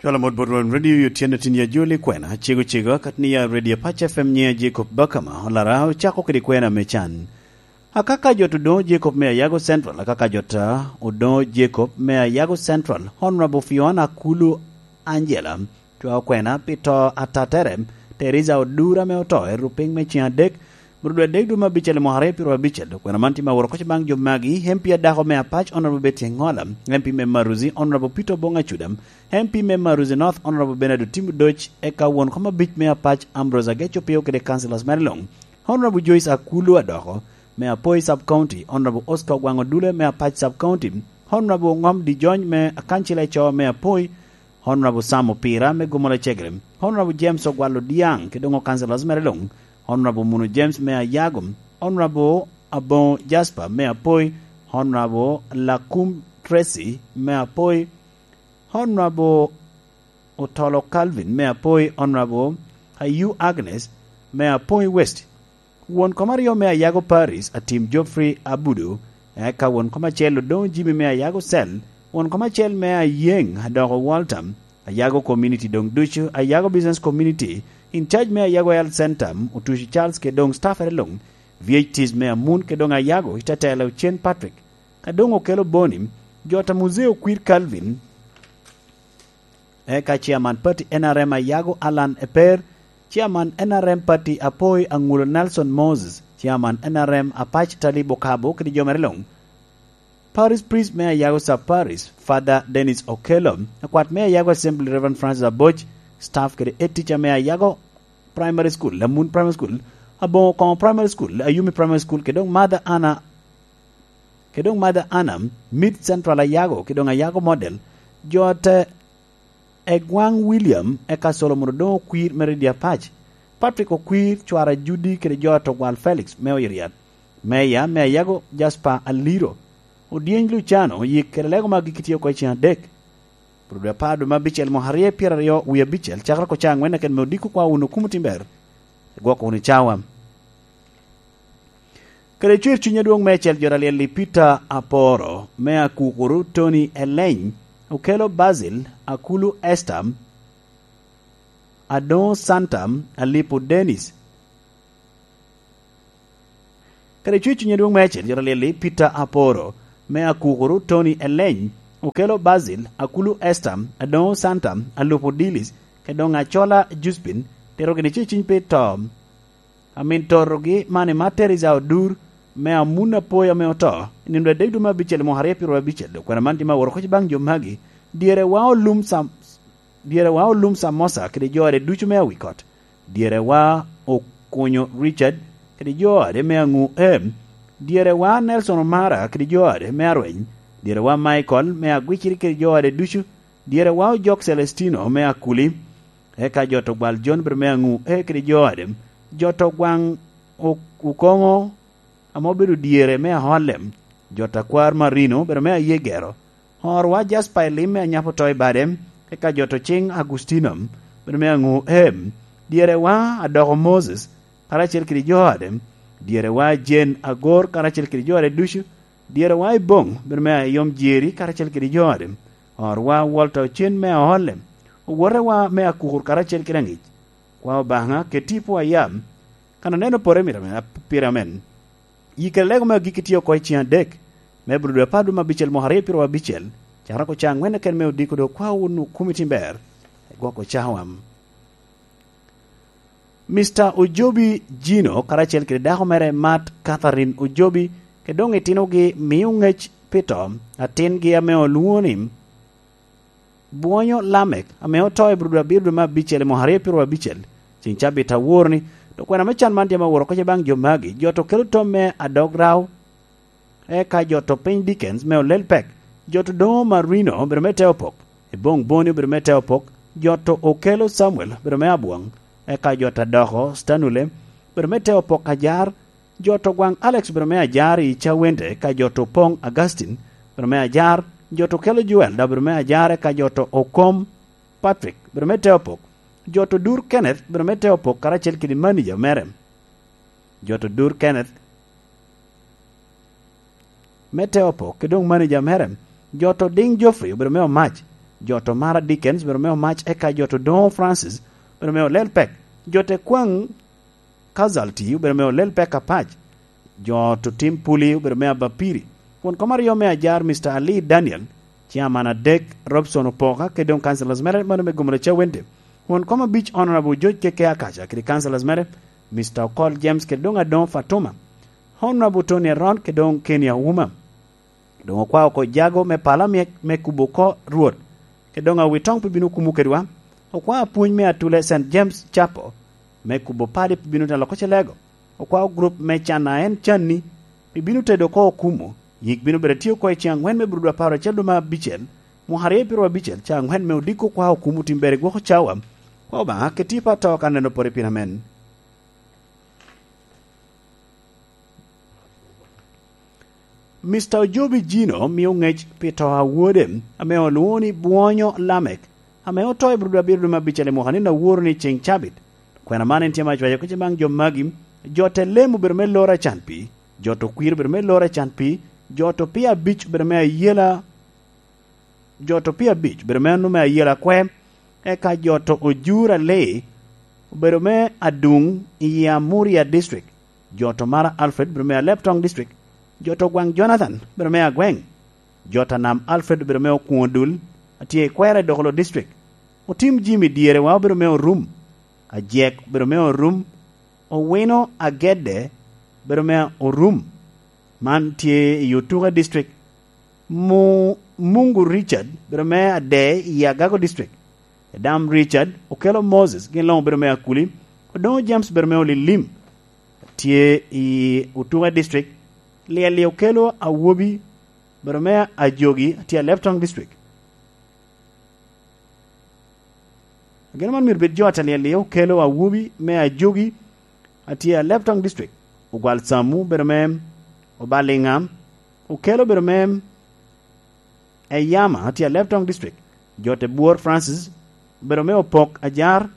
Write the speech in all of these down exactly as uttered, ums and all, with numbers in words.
Tala mot bot Rweny Radio yo tyen atin ya joli kwena, cego cego, akat ni ya Radio Pac F M nye Jacob Bakama, olara ocako kede kwena me can. Akaka jot Odoŋo Jacob me Ayago Central, akaka jot Odoŋo Jacob me Ayago Central, Honorable Fiona Kulu Angela, cwao kwena pi to atatere, Teresa Odura me oto, i rupiny me cen adek, Murdo adek dwe me abicel i mwaka aryo pyero abicel, dok kwena man tye ma woro koc baŋ jo magi, M P adako me Apac, Honorable Betty Engola, M P me Maruzi, Honorable Peter Obong Acuda, M P me Maruzi North, Honorable Bernard Otim Odoc, eka won kom abic me Apac, Ambrose Ageco Pio kede councillors mere luŋ, Honorable Joyce Akulu Adoko, me Apoi Sub County, Honorable Oscar Ogwaŋ Odule me Apac Sub County, Honorable Ŋom Dijony me Akancil Eco me Apoi, Honorable Sam Opira me Gomola Cegere, Honorable James Ogwal Odiaŋ, kede doŋo councillors mere luŋ, Honorable Munu James me Ayago, Honorable Aboŋo Jasper me Apoi, Honorable Lakum Tracy me Apoi, Honorable Otolo Calvin me Apoi, Honorable Ayu Agnes me Apoi West. Won kom aryo me Ayago Paris, Atim Geoffrey Abudu, eka won kom acel Odoŋo Jimmy me Ayago Cell, won kom acel me Ayeŋ Adoko Walter, Ayago Community doŋ ducu, Ayago Business Community, in charge me Ayago Health Center, Otuci Charles kede doŋ staffere luŋ, V H Ts me Amun kede doŋ Ayago, i Tetela Ocen Patrick, ka doŋ okelo Boni, jot a Muzee Okwir Calvin, eka Chairman Party N R M Ayago Alan Eper, Chairman N R M Party Apoi Aŋulo Nelson Moses, Chairman N R M Apac Talib Okabo kede jo mere luŋ. Parish Priest me Ayago Sub Parish, Father Dennis Okello, akwat me Ayago Assembly Reverend Francis Aboc, staff kede head teacher me Ayago Primary School, Lamun Primary School, Aboŋo Koŋo Primary School, Ayumi Primary School, kede doŋ Mother Anna, kede doŋ Mother Anna, Mid Central Ayago, kede doŋ Ayago Model, jot Egwaŋ William, eka Solomon Odoŋo Okwir me Redi Apac, Patrick Okwir, cwara Judy kede jot Ogwal Felix me Oyeriat, Meya me Ayago Jasper Aliro, Odyeny Luciano, yik kede lego magi kitye oko i cen adek. Pwod apar dwe me abicel mwaka aryo pyeraryo wie abicel, cakere oko ca aŋwen keken me odiko kwa wunu kumo timber, igwoko wunu cawa. Kede cwer cuny adwoŋ meicel jot alyel i Peter Aporo, me Akukuru Tony Eleny, Okelo Basil, Akulu Esther, Adoŋo Santa, Alipo Dennis. Kede cwer cuny adwoŋ meicel jot alyel i Peter Aporo, me Akukuru Tony Eleny, Okelo Basil, Akulu Esther, Adoŋo Santa, Alupo Dilis, kede doŋ Acola Juspin, tito gini cwer cuny pi to. Amin torogi man i Mater Iza Odur, me Amun Apoyo ame oto, i nino adek dwe me abicel i mwaka aryo pyeraryo abicel, dok kwena man tye ma woro koc baŋ jo magi, dyere wa olum Sam-, dyere wa olum Samosa kede jo ade ducu me Awikot, dyere wa Okunyo Richard kede jo ade me Aŋu Em, dyere wa Nelson Omara kede jo ade me Arweny, dyere wa Michael me Agwiciri kede jo ade ducu, dyere wa Ojok Celestino me Akuli, eka jot Ogwal Jon bed me Aŋu E kede jo ade, jot Ogwaŋ O-, Okoŋo ame obedo dyere me Aholem, jot Akwar Marino bed me Ayegero, Horwa Jasper Elim me Anyapo Toi Bade, eka jot Ociŋ Agustino bed me Aŋu Em, dyere wa Adoko Moses, karacel kede jo ade, dyere wa Jane Agor karacel kede jo ade ducu, dyere wa Iboŋ bed me Ayom Jeri karacel kede jo ade, Horwa Walter Ocen me Aholem, owote wa me Akukur karacel kede aŋic, kwa Obaŋa keti i pwo a yam, kan oneno pore mito amen, pire amen. Yik kede lego me agikki tye oko i cen adek, me Abudu dwe apar dwe me abicel mwaka aryo pyeraryo abicel, cakere oko ca aŋwen keken me odiko dok kwa wunu kumo i timber, gwoko cawa. Mister Ojobi Jino karacel kede dako mere Mat Catherine Ojobi, kede doŋ itinogi mio ŋec pi to atingi ame olwoŋo ni Bwonyo Lamek, ame oto i Abudu abiro dwe me abicel i mwaka aryo pyeraryo abicel, ceng cabit awor-ni, dok kwena me can man tye ame oworo koc baŋ jo magi, jot Okelo Tom me Adog Rao, eka jot Piny Dickens me Olel Pek, jot Odoŋo Marino obedo me te opok, Iboŋ Boni obedo me te opok, jot Okelo Samuel obedo me Abwoŋ, eka jot Adoko Stanule obedo me te opok ajar, jot Ogwaŋ Alex obedo me ajar i Cawende, eka jot Opoŋ Augustine obedo me ajar, jot Okelo Joel daŋ obedo me ajar, eka jot Okom Patrick obedo me te opok, jot Odur Kenneth obedo me te opok karacel kede manija mere, jot Odur Kenneth me te opok, kede doŋ manija mere, jot Odiŋ Geoffrey obedo me omac, Jo to Mara Dickens obedo me omac, eka jo to Doŋo Francis obedo me olel pek. Jo te kwaŋ Casualty obedo me olel pek apac. Jo to Tim Puli obedo me abapiri. Won kom aryo me ajar, Mister Ali Daniel, Chairman adek, Robson Opoka, kede doŋ councillors mere mano me Gomolo Cawende. Won kom abic, Honorable George Keke Akaca, kede councillors mere, Mister Okol James, kede doŋ Adongo Fatuma, Honorable Tony Aron, kede doŋ Kenny Auma. Doŋ okwao oko jago me pala myek me kubo oko Rwot, kede doŋ awitoŋ pi bino kumo kedwa. Okwao apwony me atule Saint James Chapel me kubo padi pi bino telo oko celego. Okwao gurup me can a en canni pi bino tedo oko okumo. Yik bino bedo tye oko i ceŋ aŋwen me Burudu apar acel dwe me abicel, mwaka aryo i pyeraryo abicel, ca aŋwen me odiko okwao okumo timbere gwoko cawa. Kwa Obaŋa, keti pa to ka neno pore pin amen. Mister Ojobi Jino mio ŋec pi to a wode, ame olwoŋo ni Bwonyo Lamek, ame oto i Burudu abiro dwe me abicel i mwaka ni, aworo ni ceŋ cabit. Kwena man en tye ma acwayo kece baŋ jo magi, jo te lemo obedo me loro acan pi, jo to kwir obedo me loro acan pi, jo to pia abic obedo me ayela, jo to pia abic obedo me anu me ayela kwe, eka jo to ojur ali obedo me aduŋ i Amuria District. Jo to Mara Alfred obedo me Aleptong District. Jo to Gwaŋ Jonathan obedo me Agweŋ. Jo to Nam Alfred obedo me Okuŋo Dul, atye i kwera i Dokolo District. Otim Jimmy Dyerewa obedo me Orum. Ajek obedo me Orum. Owino Agedde obedo me Orum. Man tye i Otuke District. Mu-, Mungu Richard obedo me Ade i Agago District. Edam Richard, Okelo Moses, gin luŋ obedo me Akuli. Odoŋo James obedo me Olilim, tye i Otuke District. Lyel-li Okelo Awobi obedo me Ajogi, tye i Aleptong District. Ageno man myero bed jo a Talyel-li Okelo Awobi me Ajogi, a tye i Aleptong District. Ogwal Samu obedo me Obaliŋa, Okelo obedo me Eyama, a tye i Aleptong District. Jo te Bwor Francis obedo me Opok Ajar.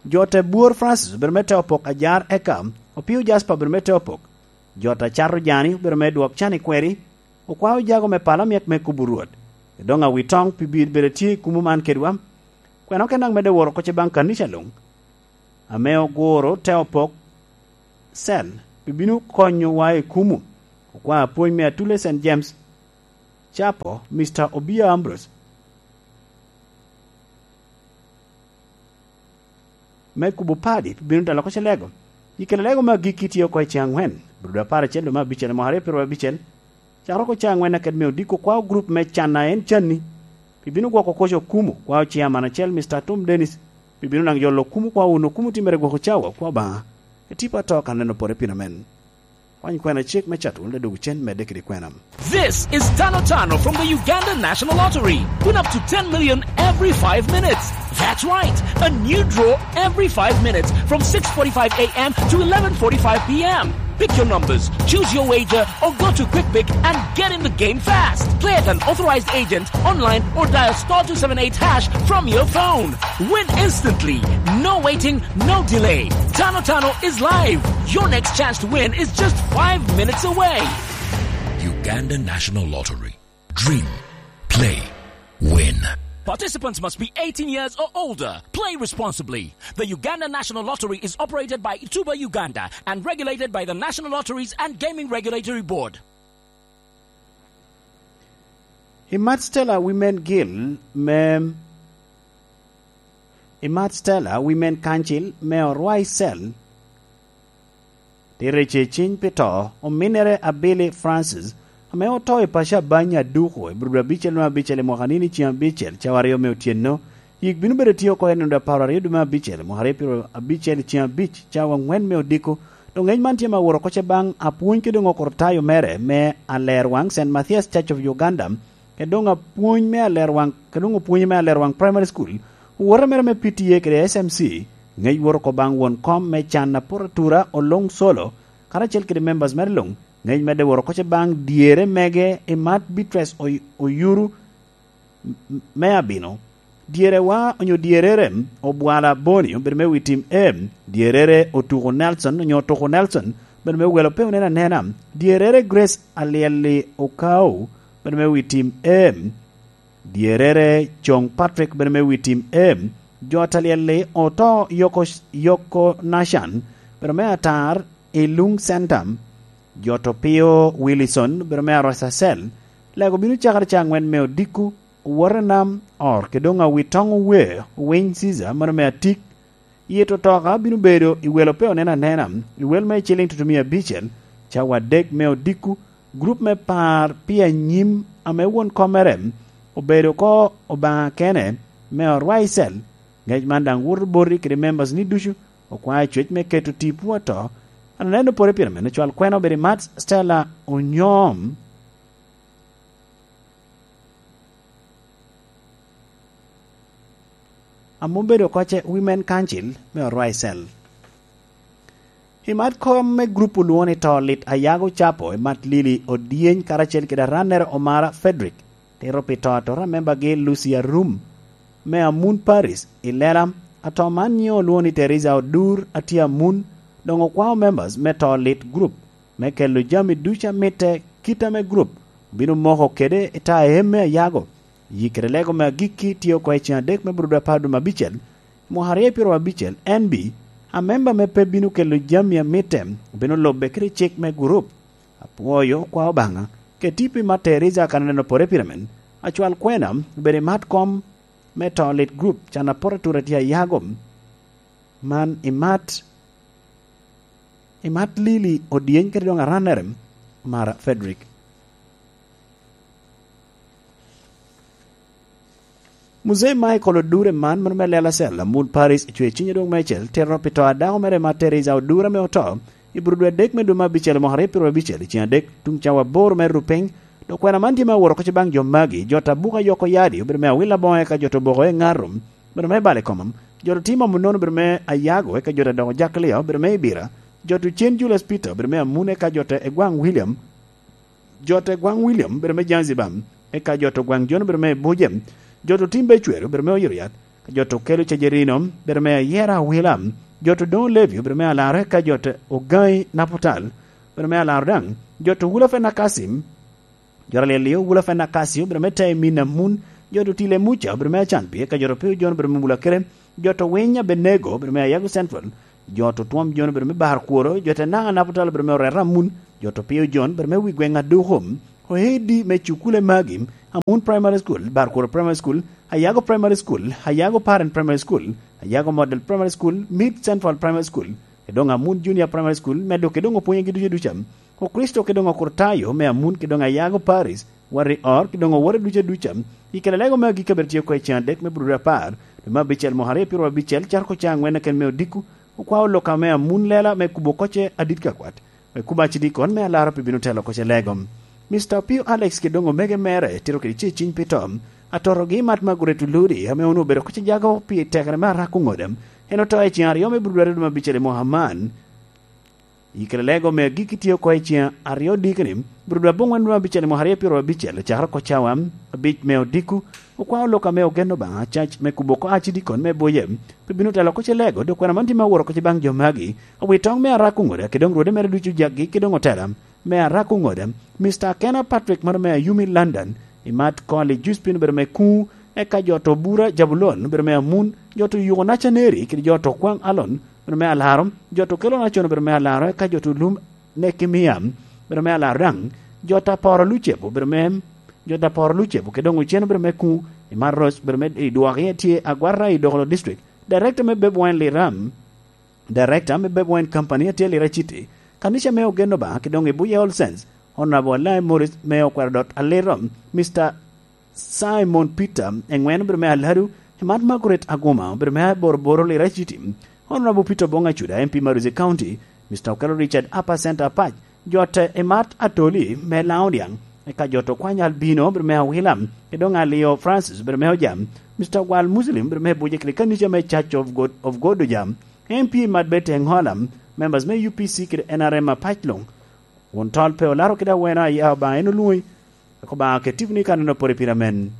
Jo te Bwor Francis obedo me te Opok Ajar, eka Opio Jasper obedo me te Opok. Jo te Cato Jani obedo me Dwok Can i Kweri. Okwao jago me pala myek me kubo Rwot, doŋ awitoŋ pi bino bedo tye i kumo man kedwa. Kwena oke daŋ medde woro oko ce baŋ kanica luŋ, ame oguro te Opok Cell pi bino konyowa i kumo. Okwao apwony me atule Saint James Chapel, Mister Obia Ambrose, me kubo padi pi bino dalo oko ce lego. I kelo lego me agikki tye oko i ceŋ aŋwen, Burudu apar acel dwe me abicel, mwaka aryo pyeraryo abicel. Cakere oko ceŋ aŋwen aked me odiko, okwao gurup me can a en canni pi bino gwoko koc okumo, okwao ciaman acel, Mister Atum Dennis, pi bino naŋ yolo okumo, okwao wun okumo timmere gwoko cawa, okwao Obaŋa. Etipo ato ka neno pore pino men. Kwany kwena cik me cato wun ledwogo cen medde kede kwena. This is Tano Tano from the Uganda National Lottery. Win up to ten million every five minutes. That's right, a new draw every five minutes from six forty-five a m to eleven forty-five p m. Pick your numbers, choose your wager, or go to QuickPick and get in the game fast. Play at an authorized agent, online, or dial star two seven eight hash from your phone. Win instantly. No waiting, no delay. Tano Tano is live. Your next chance to win is just five minutes away. Uganda National Lottery. Dream. Play. Win. Participants must be eighteen years or older. Play responsibly. The Uganda National Lottery is operated by Tuba Uganda and regulated by the National Lotteries and Gaming Regulatory Board. I Mad Stella Women Guild me, i Mad Stella Women Council me Orwai Cell, tye rece ciny pi to ominnere Abili Francis, ame oto i paco Abanya Aduko i Burudu abicel me abicel i mwaka nino i ceng abicel, cawa aryo me otyeno. Yik bino bedo tye oko i nino apar aryo dwe me abicel, mwaka aryo pyeraryo abicel i ceng abic, cawa aŋwen me odiko. Doŋ ngec man tye ma woro oko ce baŋ apwony kede doŋ okortayo mere me Alerwaŋ, Saint Matthias Church of Uganda, kede doŋ apwony me Alerwaŋ, kede doŋ opwonye me Alerwaŋ Primary School, owote mere me P T A kede S M C, ngec woro oko baŋ won kom me can Aporo Atura Oloŋ Solo, karacel kede members mere luŋ, ngec medde woro oko ce baŋ dyere mege i Mat Beatrice Oy-, Oyuru, m-, me Abino. Dyerewa onyo dyerere Obwala Boni obedo me wi tim A. Dyerere Otuko Nelson onyo Otuko Nelson obedo me welo pe onen anena. Dyerere Grace Alyelli Okau obedo me wi tim A. Dyerere Coŋ Patrick bedo me wi tim E. Jo Talyel-li oto Yoko, Yoko Nashan bedo me atar i Lung Center. Jo Topio Willison bedo me Arwacacel. Lego bino cakere ca angwen me odiko, owote nam, or, ke doŋ awi toŋ owe, owiny Caesar, mano me atik. Yet otoka bino bedo i wel ope oneno anena, i wel me ciliŋ tutumia abicel, cawa adek me odiko, grup me par pi anyim ame won kommere obedo oko Obaŋa kene, me orwaicel. Ngec man daŋ woto boti kede members ni ducu, okwao cwec me keto tipo ato. An aneno pore pire mene cwal kwena obedo i mat Stella Onyom. Ame obedo oko ce Women Council me Orwaicel. I mat kom me grup olwoŋo ni To Lit Ayago Capo, i mat Lili Odyeny karacel kede arannere Omara Frederick, tito pi to ato a membagi Lucy Arum me Amun Paris i lela. Ato man nyiŋe olwoŋo ni Teresa Odur a tye Amun, doŋ okwao members me To Lit Group me kelo jami ducu a mitte kit ame grup obino moko kede i taem me Ayago. Yi kede lego me agikki tye oko i ceŋ adek me Burudu apar dwe me abicel, mwaka aryo pyeraryo abicel. N B, a memba ame pe bino kelo jami a mitte obino lubbe kede cik me gurup. Apwoyo kwa Obaŋa, keti pi Matt Teresa kan aneno pore pire men, acwal kwena, obedo i mat kom me To Lit Group, can apote atura tye Ayago. Man i mat, i mat Lili Odyeny kede doŋ arannere, Mara Frederick. Muzei Michael Odure man, mano me Lela Cell, Amut Paris, cwe cinye dwoŋ meicel, tito pi to a dako mere ma Teresa Odure ame oto, i Burudu adek me dwe me abicel, mwaka aryo pyeraryo abicel, i ceŋ adek, tuŋ cawa aboro me rupiny, dok kwena man tye me awot oko ce baŋ jo magi, jo ta buka yoko yadi, obedo me awil aboŋo eka jo ta oboko e ŋato, obedo me balo i koma, jo ta timo amunono, obedo me Ayago, eka jo ta doko Jaklio, obedo me Ibira, jo ta Ocen Julius Peter, obedo me Amune, eka jo ta Egwaŋ William, jo ta Egwaŋ William, obedo me Zanzibar, eka jo ta Ogwaŋ Jon, obedo me Buje, jo ta Otimbe Ecwer, obedo me Oyoriat, ka jo ta Okelo Cajerino, obedo me Ayera Awila, jo ta Odoŋo Levi, obedo me Alaro, eka jo ta Ogaŋi Naputal, obedo me Alaro daŋ, jo ta Wula Fena Kasim, jo ta Lyelio Wula Fena Kasio, obedo me Tayi Min Amun, jo ta Otile Muca, obedo me Acanpi, eka jo ta Opio Jon, obedo me Mula Kere, jo ta Owiny Abenego, obedo me Ayago Central, jo ta Otwom Jon, obedo me Bar Kworo, jo ta Naŋ Anapotalo, obedo me Oreta Amun, jo ta Opio Jon, obedo me Wi Gweŋ Aduko, oedi me cukule magi, Amun Primary School, Bar Kworo Primary School, Ayago Primary School, Ayago Parent Primary School, Ayago Model Primary School, Mid Central Primary School, kede doŋ Amun Junior Primary School, medo kede doŋ opwonyegi ducu duca. Okricito kede doŋ Okritayo me Amun kede doŋ Ayago Paris, Warri Or kede doŋ owote ducu duca, i kela lego me agikki abiro tye oko i ceŋ adek me Burudu apar, dwe me abicel mwaka aryo pyeraryo abicel, carko ca aŋwen keken me odiko, okwao lok ame Amun Lela me kubo oko ce adit ka kwat, me kubo acidikon me alara pe bino telo oko ce lego. Mister Opio Alex kede doŋ omege mere tito kede ce ciny pi to, atotogi Mat Margaret Oludi, ame onwoŋo obedo oko ce jago pi tekere me arako ŋode, en oto i ceŋ aryo me Burudu aryo dwe me abicel i mwaka man. I kela lego me agikki tye oko i ceŋ aryo dikeni, Burudu aboŋwen dwe me abicel i mwaka aryo pyeraryo abicel, ocakere oko cawa abic me odiko, okwao lok ame ogen Obaŋa, cac me kubo oko acidikon me Buje, pe bino telo oko ce lego, dok kwena man tye me awot oko ce baŋ jo magi, owi toŋ me arako ŋode, kede doŋ rwode mere ducu jaggi, kede doŋ otela me arako ŋode, Mister Akena Patrick mano me Ayumi London, i Mat Koli Juspin obedo me Kuŋ, eka jo ta Obura Jabulon obedo me Amun, jo ta Oyuko Nacaneri, kede jo ta Okwaŋ Alon obedo me Alaro, jo ta Okelo Nacon obedo me Alaro, eka jo ta Olum Nekemia obedo me Alaro daŋ, jo ta Poro Lucebo obedo me, jo ta Poro Lucebo, kede doŋ Ocen obedo me Kuŋ, i Mat Roc obedo me, i dwok iye tye Agwata i Dokolo District, Director me Beb Wine Liram, Director me Beb Wine Company a tye Lira City, kanica me Ogen Obaŋa, kede doŋ i Buye All Saints, Honorable Alai Morris me Okwero Dot Aliro, Mister Simon Peter Eŋwen obedo me Aladu, Emat Margaret Aguma obedo me Boroboro Lira City, Honorable Peter Obong Acuda, M P Maruzi County, Mister Okello Richard Upper Center Apac, jo ta Emat Atoli me Laŋo Diaŋ, eka jo ta Okwany Albino obedo me Awila, kede doŋ Alio Francis obedo me Ojam, Mister Gwal Muslim obedo me Buje kede kanica me Church of God, of God Ojam, M P Emat Betty Eŋola, members me U P C kede N R M Apac luŋ, Won tol pe olaro kede aweno aya Obaŋa en olwoŋi, wek Obaŋa oket tiponi i kaneno pore pire amen.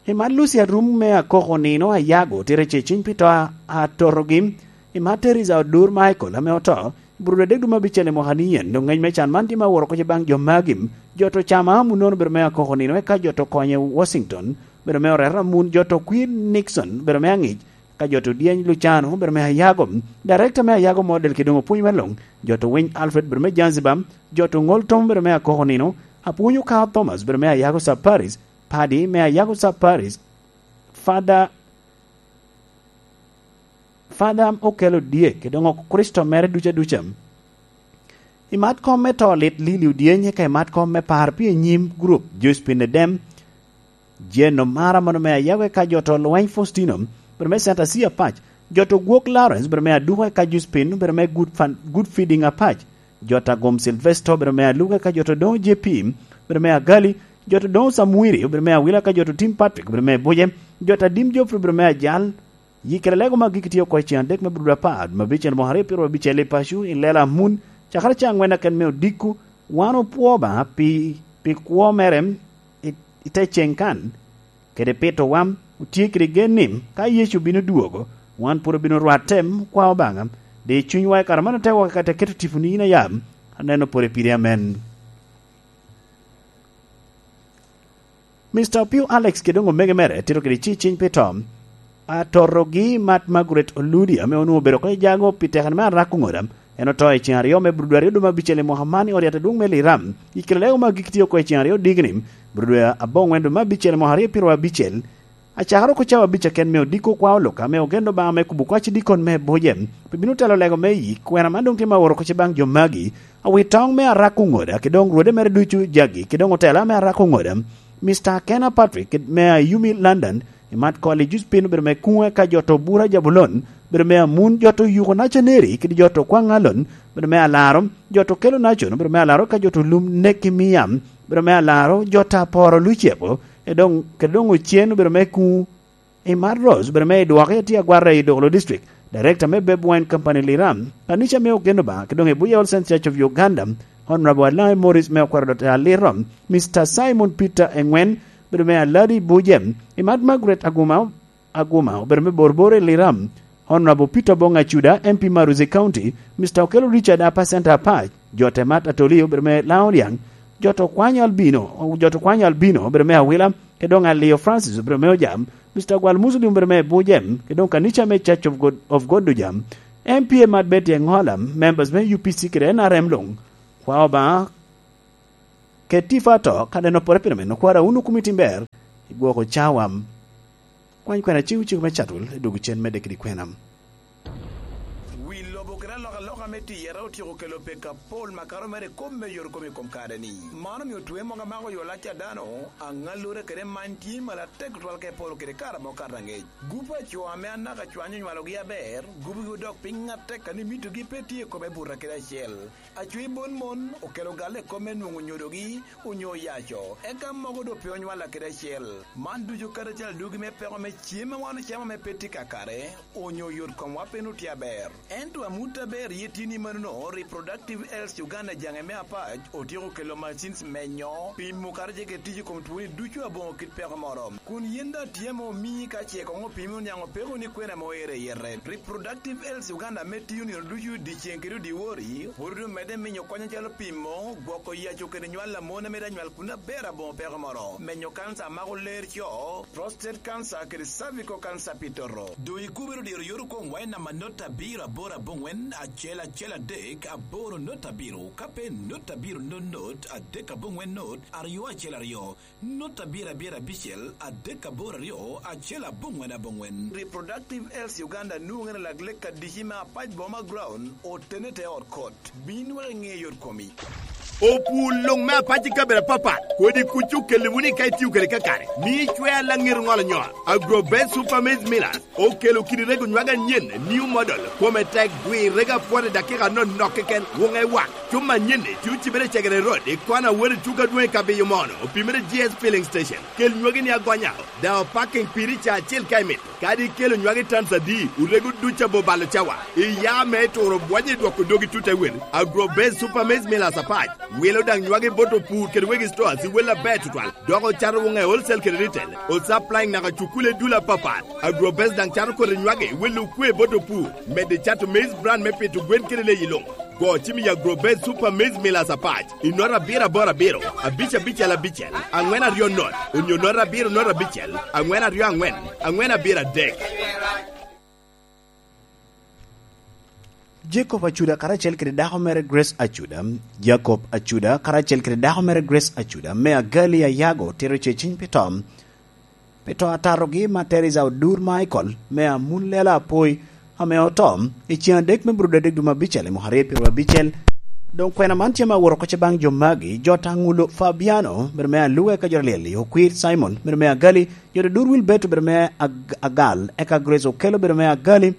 I man Lucy Arum me Akoko nino Ayago tito ce ciny pi to a, atotogi, i man Teresa Odur Michael ame oto, i Burudu adek dwe me abicel i mwaka ni yen, doŋ ngec me can man tye me awot oko ce baŋ jo magi, jo to cama amu nono obedo me Akoko nino, eka jo to konye i Washington, bedo me Oreta Amun, jo to Queen Nixon, bedo me Aŋic, ka jo to Dyeny Lucano, bedo me Ayago, Director me Ayago Model, kede doŋ opwony me luŋ, jo to Winy Alfred, bedo me Zanzibar, jo to Ŋol Tom, bedo me Akoko Nino, Apwony Okao Thomas, bedo me Ayago Sub Parish, Padi me Ayago Sub Parish, Father Father Okelo Dyek, kede doŋ oko Kricito mere duca duca. I mat kom me to lit Lili Odyeny, ka i mat kom me par pi i nyim gurup, Josephine Edem, Jane Omara, mano me Ayago, eka jo to Lweny Faustino, bedo me Center C Apac, jo to Gwok Lawrence, bedo me Aduka, eka Josephine, bedo me Good Fan-, Good Feeding Apac, jo to Agom Sylvester, bedo me Aluka, eka jo to Doŋo J P, bedo me Agali, jo to Doŋo Samwiri, bedo me Awila, eka jo to Tim Patrick, bedo me Buje, jo to Adim Geoffrey, bedo me Ajal, Yikere lego me agikki tye oko i cen adek me Bruda Apar, me abicel mwaka aryo pyeraryo abicel i paco, i lela amun, cakere ca aŋwen aken me odiko. Wan opwoo Obaŋa pi, pi kwo mere i, i te ceŋ kan, kede pito wam, otye kede gen ni, ka Yecu bino dwogo, wan pwod obino rwatte, okwa Obaŋa, di cunywa i kare man ote wok i kare te keto tiponi in ayam, aneno pwod i piri. Amen. Mister Opio Alex kede doŋ omege mere tito kede ci ciny pi to. Atotogi Mat Margaret Oludi ame onwoŋo obedo oko i jago pi tekere me arako ŋoda. En oto i ceŋ aryo me Brudu aryo dwe me abicel i mwaka man i ot yat adwoŋ me Liram. I kare lego me agikki tye oko i ceŋ aryo digni, Brudu aboŋwen dwe me abicel i mwaka aryo pyeraryo abicel. Acakere oko cawa abic aken me odiko kwa oloka ame ogendo Obaŋa me kubo kwac i dikon me Buje. Pe bino telo lego me yik, kwena man doŋ tye ma oro oko ce baŋ jo magi. Awitoŋ me arako ŋoda, kede doŋ rwode mere ducu jagi, kede doŋ otela me arako ŋoda, Mister Kena Patrick, kede me Ayumi London, i mat kol i Juspin, obedo me Kuŋe ka jo to Bura Jabulon, obedo me Amun, jo to Yuko Nacaneri, kede jo to Kwaŋalon, obedo me Alaro, jo to Kelo Nacon, obedo me Alaro ka jo to Lum Neki Miam, obedo me Alaro, jo to Aporo Lucepo, e doŋ, kede doŋ Ocen, obedo me Kuŋu. I Mad Rose, obedo me i dwoke tye agwata i Dolo District, Director me Beb Wine Company Liram, kanica me Ogeno Obaŋa, kede doŋ i Buya Olsen Church of Uganda, Honorable Alaŋe Morris me Okwero Dot Aliram, Mister Simon Peter Engwen, obedo me Aladi Buje, i Mad Margaret Aguma, Aguma, obedo me Borbor i Liram, Honorable Peter Bonga Cuda, M P Maruzi County, Mister Okelo Richard Apa Center Apac, jo te Mat Atoli, obedo me Laŋo Liaŋ, jo to Kwanyo Albino, jo to Kwanyo Albino, obedo me Awila, kede doŋ Aliyo Francis obedo me Ojam, Mister Gwal Muslim obedo me Bujem, kede doŋ kanica me Church of God, of God Ojam, M P A Mat Betty Eŋola, members me U P C kede N R M luŋ. Kwa Obaŋa, ket tifo ato, ka neno pore pire meno, kwara wun okumi tim ber, i gwoko cawa. Kwany kwena cik ociko me Catul, i dwogo cen medde kede kwena. Wi lobo kede alokaloka me tiyere otyeko kelo pek apol makato mere i kop me yot kom i kom kare-ni. Man omio twe mogo amako yo lac a dano, aŋallure kede many tye malo atek tutwal ka iporo kede kare amo kato aŋec. Gup a co ame anaka cwany onywalogi aber, gupgi odok piny atek kadi mitogi pe tye i kome buto kede acel. Acwe bon mon okelo galle i kop me nwoŋo nyodogi onyo oyaco, eka mogo doŋ pe onywalla kede acel. Man ducu kadi acel adugi me peko me cem ma wan ocamo ame pe tye kakare, onyo yot komwa pe nwoŋo tye aber. Ento amut aber ye tye ni manono, Reproductive Health Uganda jaŋe me Apac otyeko kelo machines menyo, pimo kadi ce kede tic i kom twoni ducu aboŋo kit peko moro. Kun yen daŋ tye ame omii ka ce koŋ opimi oniaŋ opeko ni kwena ame oero i yete. Reproductive Health Uganda ame tiyo nino ducu dyeceŋ kede odiwori, pwod omedde minyo kony acalo pimo, gwoko yaco kede nywal a mon ame daŋ nywal kun aber aboŋo peko moro, menyo kanca a mako ler co, prostate cancer kede cervical cancer pi toto. Doŋ ikubere odiro yot okomwa i namba not abiro aboro aboŋwen acel acel adek aboro not abiro, ka pe not abiro not not adek aboŋwen not aryo acel aryo. Not abiro abiro abicel adek aboro aryo acel aboŋwen aboŋwen. Reproductive Health Uganda nwoŋere lak lek adici me Apac Boma Ground, otene te ot kot. Bin wek iŋe yot komi. Opur luŋ me Apac i kabedo apapat, kodi kuc okelle wunu ka itio kede kakare. Mi icwe alaŋet oŋolo nyo. Agrobest Super Maize Millers okelo kidi rego nywage anyen, new model, kome tek, dwi rego apwot i dakika anonok keken, wuŋe wak. Cuma anyen-ni tye ocibere i Cegere Road, i kona wot i tuko adwoŋ i Kabiyo Mono, opimere G S Filling Station. Kel nywagi ni agonya, daŋ opaking piri ca acel ka imito. Kadi ikelo nywagi tans adi, orego duc abo balo cawa. Iya me turo bwonyo i dwoko dogi tut te wel. Agrobase Super Maize Millers Apac wilo daŋ nywagi bot opur kede wegi stores i wel aber tutwal, dok ocato wuŋe wholesale kede retail. Osupplying naka cukule dul apapat. Agrobase daŋ cato kodi nywagi wilo okwe bot opur, medde cato maize bran me pito gwen kede leyi luŋ. Go cim i Agrobet Super Maize Millers Apac i nota abiro aboro abiro, abic abicel abicel, aŋwen aryo not, onyo nota abiro not abicel, aŋwen aryo aŋwen, aŋwen abiro adek. Jacob Acuda karacel kede dako mere Grace Acuda. Jacob Acuda karacel kede dako mere Grace Acuda me Agali Ayago tito ceciny pi to. Pi to atatogi ma Teresa Odur Michael me Amun Lela Apoi, ame oto i cen adek me Brudo adek dwe me abicel i mwaka aryo pyeraryo abicel. Doŋ kwena man tye ma aworo kocce baŋ jo magi: Jota Ŋulo Fabiano, bedo me Aluga, eka Jota Lyel Okwir Simon, bedo me Agali, Jota Odur Wilberto, bedo me Ag-, Agal, eka Grace Okello, bedo me Agali,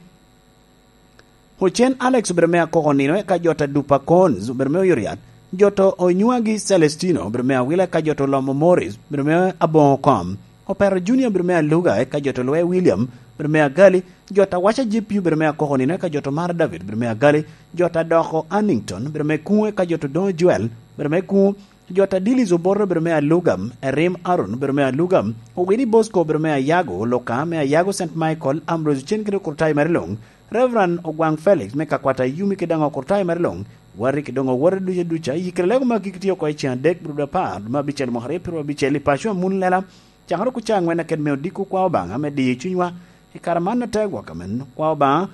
Ocen Alex obedo me Akoko Nino, eka Jota Dupa Cons obedo me Oyoriat, Jota Onywagi Celestino obedo me Awila, eka Jota Olomo Morris obedo me Aboŋo Kom, Opero Junior obedo me Aluga, eka Jota Olwe William obedo me Agali, Jota Waca J P obedo me Akoko Nino, eka Jota Omara David obedo me Agali, Jota Doko Annington obedo me Kuŋo, eka Jota Odoŋo Joel obedo me Kuŋo, Jota Dilis Obote obedo me Aluga, Erim Aaron obedo me Aluga, Owini Bosco obedo me Ayago, Luka me Ayago Saint Michael, Ambrose Ocen kede Okurtayo mere luŋ, Reverend Ogwaŋ Felix me Kakwata Yumi kede daŋ Okurtayo mere luŋ, wati kede doŋ owote duca duca, i kare lego ma gik tye oko i cen adek Brudo apar me abicel mwaka aryo pyeraryo abicel i paco Amun Lela, cakere oko ca aŋwen aket me odiko kwa Obaŋa me diyo cunywa i kare man atek gwok amen. Kwa Obaŋa,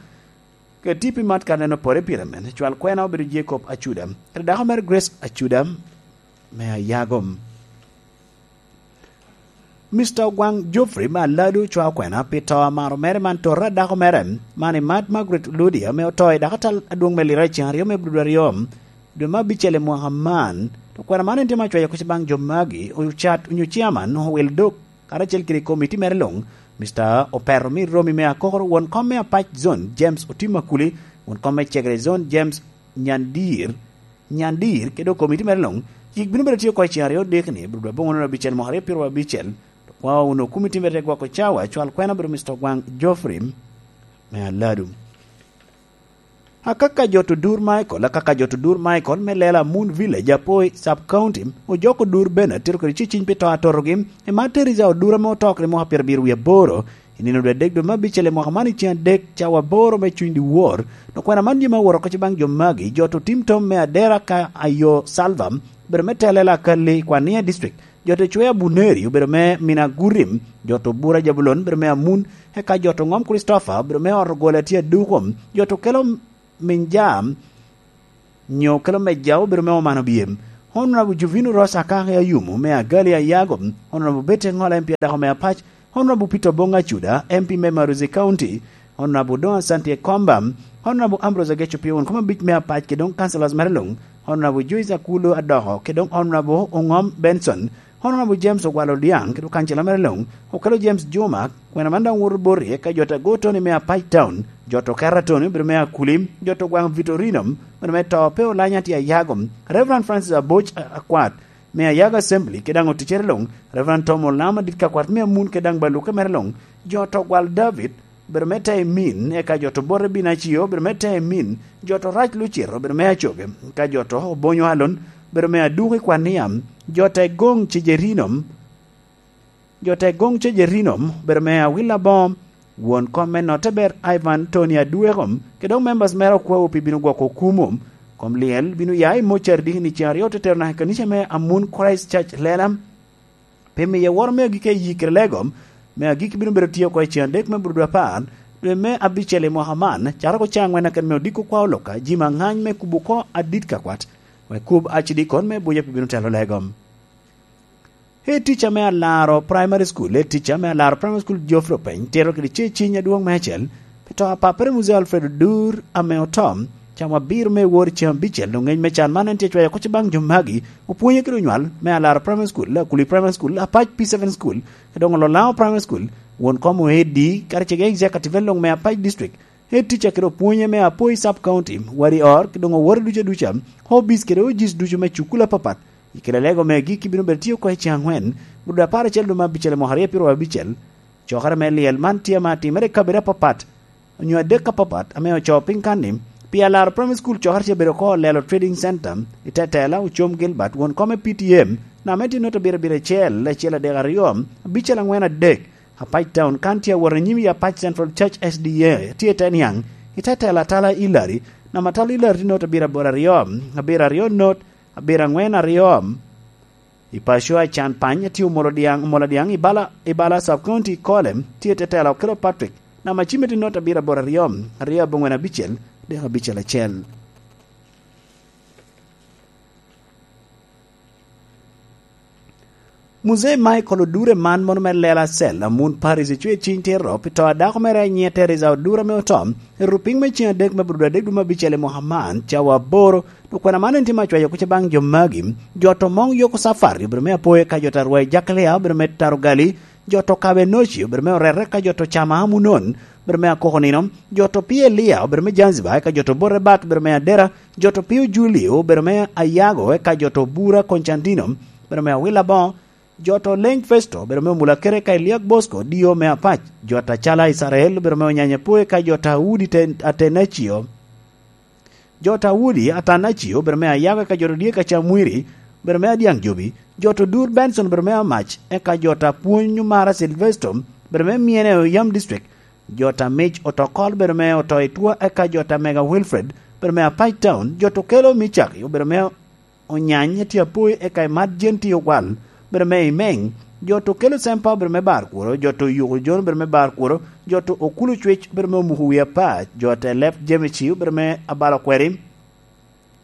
ket pi mat ka neno pore pire men, cwal kwena obedo Jacob Acuda, kede dako mere Grace Acuda me Ayago. Mister Ogwaŋ Geoffrey me Aladu ocwao kwena pi to amaro mere man, tota a dako mere man i mat Margaret Oludi, ame oto i dakatal adwoŋ me Lira i cen aryo me Brudo aryo, dwe me abicel i mwaka man. To kwena man en tye ma acwayo kuc baŋ jo magi, ocat onyo chairman, owil dok, karacel kede komiti mere luŋ, Mister Opero Mir Romi me Akoko, won kom me Apac Zone, James Otim Akuli, won kom me Cegere Zone, James Nyandir, Nyandir, kede komiti mere luŋ. Yik bino bedo tye oko i cen aryo dek ni, Brudo aboŋo nono abicel mwaka aryo pyeraryo abicel. To kwa wunu komiti mere gwoko cawa, cwal kwena obedo Mister Ogwaŋ Geoffrey me Aladu. Akaka Jota Odur Michael, Akaka Jota Odur Michael me Lela Moon Village, Apoi Sub County, ojoko Odur Bernard tito kede ceciny pi to atotogi, i mat Teresa Odur ame oto kede mwaka pyerabiro wie aboro, i nino dwe adek dwe me abicel i mwaka man i cen adek cawa aboro me cuny dyewor. Doŋ kwena man tye ma aworo kocce baŋ jo magi: Jota Otim Tom me Adera ka Ayo Salva, obedo me telo Lela Akalli i Kwania District, Jota Ecwea Buneri obedo me Mina Gurim, Jota Obura Jabulon obedo me Amun, eka Jota Oŋom Christopher obedo me ot ogole atye aduko, Jota Okelo Minja, nyo Okelo Meja obedo me Omano Byem, Honorable Jovino Ross Akaka Ayumu me Agali Ayago, Honorable Betty Ŋola M P adako me Apac, Honorable Peter Obong Acuda, M P me Maruzi County, Honorable Don Asante Komba, Honorable Ambrose Ageco Pio, won kom abic me Apac, kede doŋ councillors mere luŋ, Honorable Joyce Akulo Adoko, kede doŋ Honorable Oŋom Benson, Honorable James Ogwal Odiaŋ, kede kancila mere luŋ, Okelo James Juma, kwena man daŋ woto boti, eka Jota Go Tony me Apac Town, Jota Okera Tony, obedo me Akuli, Jota Ogwaŋ Vitorino, obedo me to pe olanya tye Ayago, Reverend Francis Aboc A-, Akwat, me Ayago Assembly, kede daŋ oticere luŋ, Reverend Tom Olam Adit Kakwat me Amun, kede daŋ baluke mere luŋ, Jota Ogwal David, obedo me Taimin, eka Jota Obote Binacio, obedo me Taimin, Jota Orac Lucito, obedo me Acoge, eka Jota Obonyo Alon, obedo me Aduko i Kwania, Jota Egoŋ Cejerino, Jota Egoŋ Cejerino, obedo me Awila Bom, won kom me Notte Ber Ivan Tony Adweko, kede doŋ members mere okwawu pi bino gwoko okumu. Kom lyel bino ya i mocari diki ni cen aryo te tero naka i kanica me Amun Christ Church Lela. Pi miye woro me agikki ayi kede lego me agikki bino bedo tye oko i cen adek me Brudo apar, dwe me abicel i mwaka man, cakere oko ca aŋwen aket me odiko kwa oloka, jimi aŋany me kubo oko Adit Kakwat, wek kub acidikon me buca pe bino telo lego. Head teacher me Alaro Primary School, head teacher me Alaro Primary School, Geoffrey Openy, tito kede ceciny adwoŋ me acel pi to a pappere Muzee Alfred Odur ame oto, cawa abiro me wor cen abicel. Doŋ ŋeny me can man en tye cwayo kocce baŋ jo magi, opwonye kede onywal me Alaro Primary School, Akuli Primary School, Apac P seven School, kede doŋ Ololaŋo Primary School, won kom oedi, kadi cege executive en luŋ me Apac District, head teacher kede opwonye me Apoi Sub County, wadi or, kede doŋ owote duca duca, hobbies kede O Gs ducu me cukul apapat, i kede lego me agikki bino bedo tye oko i cen aŋwen, Brudo apar acel dwe me abicel i mwaka aryo pyeraryo abicel. Cokere me lyel man tye ma timere i kabedo apapat, onyo adek apapat, ame ocoo piny kan ni, pi Alaro Primary School cokere tye bedo oko Olelo Trading Center, i Tetela, Ocom Gilbert, won kom me P T M, name tye nota abiro abiro acel, acel adek aryo, abicel aŋwen adek, Apac Town, kan tye awot anyim i Apac Central Church S D A, tye i te niaŋ, i Tetela Tala Hillary, Namba atal i Larti not abiro aboro aryo, abiro aryo not abiro angwen aryo. I paco a can pany, atye omolo dyaŋ, omolo dyaŋ i bala, i bala Sub County i Kole, tye tetela Okello Patrick. Namba cimiti not abiro aboro aryo, aryo abongwen abicel, dek abicel acel. Muzee Michael Odure man mono me Lela Cell, Amun Paris, ecwe ciny tito pi to a dako mere a nyiŋe Teresa Odure ame oto, i rupiny me ceng adek me Abril adek dwe me abicel i mwaka man, cawa aboro. Dok kwena man en tye me acwayo kuca baŋ jo magi. Jo to Moŋ Yoko Safari obedo me Apoyo, ka jo to Arwai Jakalia obedo me Tarogali, jo to Kabe Noci obedo me Orere, ka jo to Cama Amunon obedo me Akoko Nino, jo to Pia Elia obedo me Zanzibar, eka jo to Bote Bat obedo me Adera, jo to Pio Julio obedo me Ayago, eka jo to Bura Constantino obedo me Awila Boŋo, jo to Leny Festo obedo me Omulakere, eka Eliak Bosco dio me Apac, jo to Acala Isarael obedo me Onyanya Poe, eka jo to Audi Te-, Atenacio, jo to Audi Atenacio obedo me Ayago, eka jo to Dyek Acamwiri obedo me Adyaŋ Jobi, jo to Dur Benson obedo me Amac, eka jo to Apwony Omara Silvesto obedo me Myene Oyam District, jo to Amic Otokol obedo me Oto Itwa, eka jo to Mega Wilfred obedo me Apac Town, jo to Kelo Micaki obedo me Onyany, atye Apoyo, eka Imat Jen tye Ogwal obedo me Imeng, jo to Kelo Sempa obedo me Bar Kuro, jo to Yuko Jon obedo me Bar Kuro, jo to Okulu Cwec obedo me Omuko Wi Apac, jo to Elep Jemeci obedo me Abalo Kweri,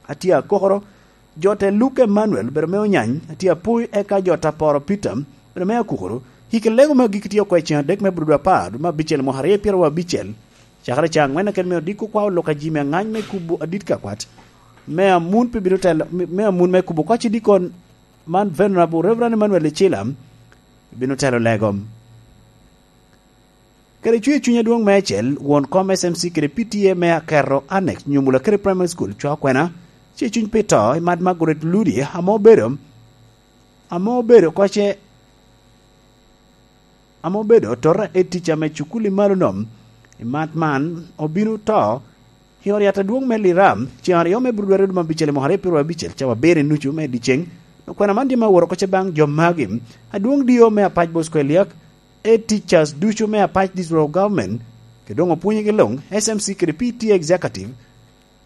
atye Akokoro, jo to Luke Emmanuel obedo me Onyany, atye Apoyo, eka jo to Aporo Peter obedo me Akukoro. Hik lego me agikki tye oko i ceng adek me Abril dwe apar, dwe me abicel, mwaka aryo pyeraryo abicel. Cakere ca angwen akene me odiko kwa olok a ji me angany me kubo adit ka kwat. Me amun pe bino telo, me, me amun me kubo koc i dikon man, Venerable Reverend Emmanuel Icila bino telo lego. Kede cwir cuny adwoŋ meicel, won kom S M C kede P T A me Akerro Annex, Nyomula kede Primary School, cwa kwena, cwir cuny pi to i Mad Margaret Ludi, ame obedo, ame obedo koce, ame obedo tota head teacher me cukul i malo nom. I Mad man, obino to i ot yat adwoŋ me Lira, ceŋ aryo me Abril dwe aryo dwe me abicel i mwaka aryo pyeraryo abicel, cawa abiro i nucu me dyeceŋ. Okwena man tye me aworo koce baŋ jo magi, adwoŋ dio me Apac Bosco Eliak, head teachers ducu me Apac District of Government, kede doŋ opwonyegi luŋ, S M C kede P T A Executive,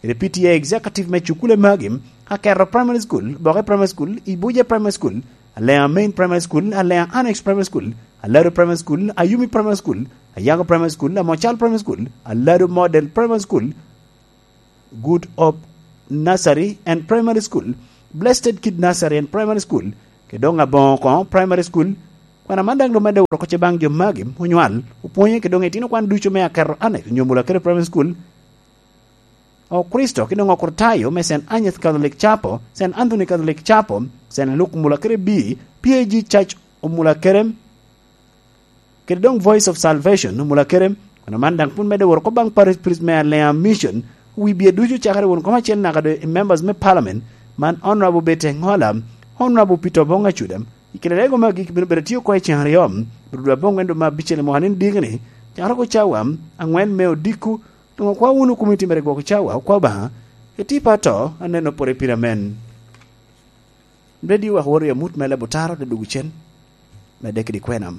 kede P T A Executive me cukule magi, Akerro Primary School, Boke Primary School, Ibuje Primary School, Alea Main Primary School, Alea Annex Primary School, Alado Primary School, Ayumi Primary School, Ayago Primary School, Amocal Primary School, Alado Model Primary School, Good Hope Nursery and Primary School, Blessed Kid Nursery and Primary School, kede doŋ Aboŋo Koŋo Primary School. Kwena man daŋ doŋ medde woro koce baŋ jo magi onywal, opwonye kede doŋ itino kwan ducu me Akerro Annex, Nyomula kede Primary School, Okristo kede doŋ Okritayo me Saint Agnes Catholic Chapel, Saint Anthony Catholic Chapel, Saint Luke Omulakere B, P A G Church Omulakere, kede doŋ Voice of Salvation Omulakere. Kwena man daŋ pwod medde woro oko baŋ Parish Priest me Alea Mission, wi bye ducu cakere won kom acel naka doŋ i members me Parliament, man Honorable Bete Ŋola, Honorable Peter Oboŋ Acuda. I kine rego me agikki bino bedo tye oko i ceŋ aryo, Abril dwe aboŋwen dwe me abicel i mwaka ni diki ni, cakere oko cawa angwen me odiko, doŋ okwa wunu komiti mere gwoko cawa, okwa Obaŋa, etipa to, aneno pore pire amen. Radio wek woro i amut me leb otaro te dugu cen, medde kede kwena.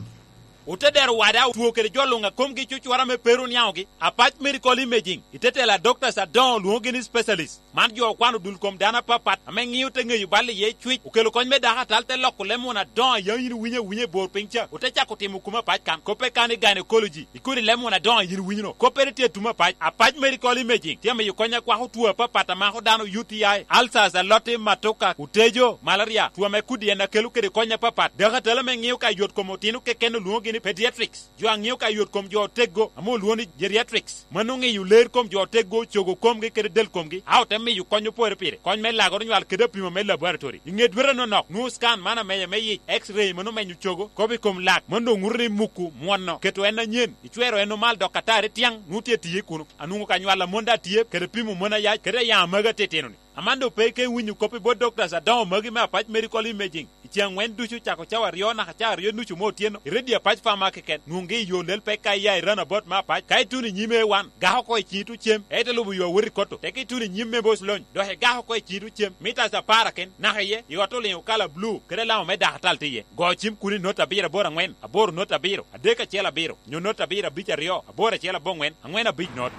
Ote dero wada otwo kede jo luŋ a komgi cucwara me pero niaŋogi, Apac Medical Imaging, i te tela doctors adoŋo lwoŋogi ni specialist. Man jo okwano dul kom dano apapat ame ŋio te ŋeyo bal iye cwic, okelo kony me dako atal te loko leb muna adoŋo a yaŋ yin iwinyo awinya i bor piny ca, ote cako timo kuma Apac kan, koppe kan i gynecology, i kodi leb muna adoŋo a yin iwinyo no. Koppere tye atum Apac. Apac Medical Imaging tye amiyo kony akwako two apapat a mako dano, U T I, ulcers, aloti, matoka, otejo, malaria, two ame kudi en akelo kede kony apapat. Dako atal ame ŋio ka yot kom otino keken olwoŋogi ni pediatrics. Jo a ŋio ka yot kom jo oteggo ame olwoŋo ni geriatrics. Mano ŋiyo ler kom jo oteggo, cogo komgi kede del komgi, a ote miyo kony opore pire, kony me lagoro nywal kede apimo me laboratory. I ŋe dwete nonok, nwoŋo scan man amenya me yic, X-ray mano menyo cogo, kop i kom lak, mano doŋ ŋuto ni muku mwono, keto en anyen, icwero en omal dok atari tiaŋ, nwoŋo tye tiye kuno. Anwoŋo ka nywal amon daŋ tye, kede pimo mon ayac, kede ayaŋ amagi atitino-ni. Aman doŋ pe ike winyo kop i bot doctors adoŋo magi me Apac Medical Imaging. I ceŋ angwen ducu cako cawa aryo naka cawa aryo nucu me otyeno, i redio Apac Pharma keken, nwoŋgi i yo lel peka iya i roundabout me Apac. Ka ituno i nyim A one, gak oko i ciŋi tucem, ite lubo yo awot i koto, teke ituno i nyim me Boc Lony, dok igak oko i ciŋi tucem, mitas apar aken, naka iye, i ot oliŋo kala blue, kede alama me dako atal tye iye. Go cim kuno i not abiro aboro angwen, aboro not abiro, adek acel abiro, nyo not abiro abic aryo, aboro acel abongwen, angwen abic not.